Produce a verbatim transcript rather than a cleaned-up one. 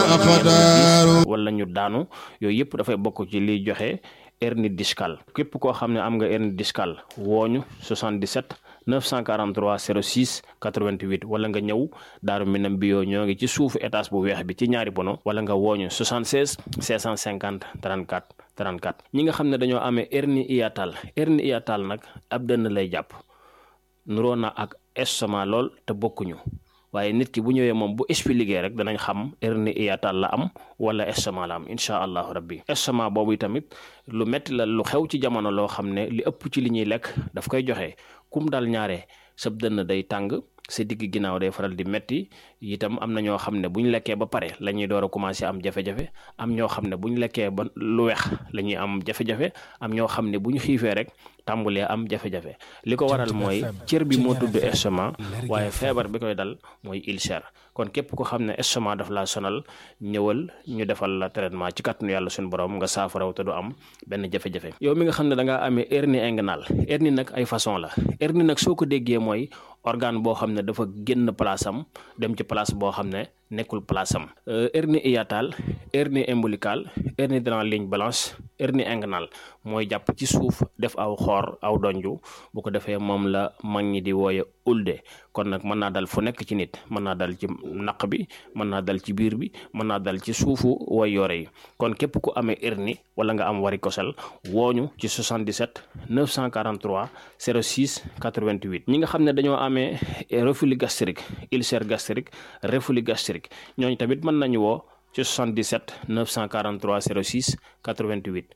أقدار wala ñu daanu yooyu yëpp dafay bokk ci liy joxe hernie discale képp koo xam ne am nga hernie discale wooñu soixante-dix-sept neuf cent quarante-trois zéro six quatre-vingt-huit wala nga ñëw Daaru Minam bio ñoo ngi ci suufu étage bu weex bi ci ñaari bono wala nga wooñu soixante-seize cinq cent cinquante trente-quatre trente-quatre ñi nga xam ne dañoo amee hernie hiatale hernie hiatale nag ab dënn lay jàpp nuroo na ak estomac lool te bokkuñu waaye nit ki bu ñëwee moom bu expliqué rek danañ xam hernie hiatale la am wala estomac la am incha allahu rabbi estomac boobu tamit lu metti la lu xew ci jamono loo xam ne li ëpp ci li ñuy lekk daf koy joxe kum dal ñaare sab dënn day tàng sa digg ginnaaw day faral di metti itam am na ñoo xam ne bu ñu lekkee ba pare la ñuy door a commencé am jafe-jafe am ñoo xam ne bu ñu lekkee ba lu weex la ñuy am jafe-jafe am ñoo xam ne bu ñu xiifee rek tàmbulee am jafe-jafe li ko waral mooy cër bi moo tudd estomac waaye feebar bi koy dal mooy ulcère kon képp ko xam ne estomac daf laa sonal ñëwal ñu defal la traitement ci kàttanu yàlla suñu borom nga saafaraw te du am benn jafe-jafe yow mi nga xam ne da ngaa amee hernie inguinale hernie nag ay façon la hernie nag soo ko déggee mooy organe boo xam ne dafa génn place am dem ci place boo xam ne nekkul place am hernie hiatale hernie ombilicale hernie dans la ligne blanche hernie inguinale mooy jàpp ci suuf def aw xoor aw donju bu ko defee moom la mag ñi di wooye ulde kon nag mën naa dal fu nekk ci nit mën naa dal ci naq bi mën naa dal ci biir bi mën naa dal ci suufu way yore yi kon képp ku amee hernie wala nga am varicocèle wooñu ci soixante-dix-sept neuf cent quarante-trois zéro six quatre-vingt-huit ñi nga xam ne dañoo amee reflux gastrique ulcère gastrique reflux gastrique ñooñu tamit mën nañu woo ci soixante-dix-sept neuf cent quarante-trois zéro six quatre-vingt-huit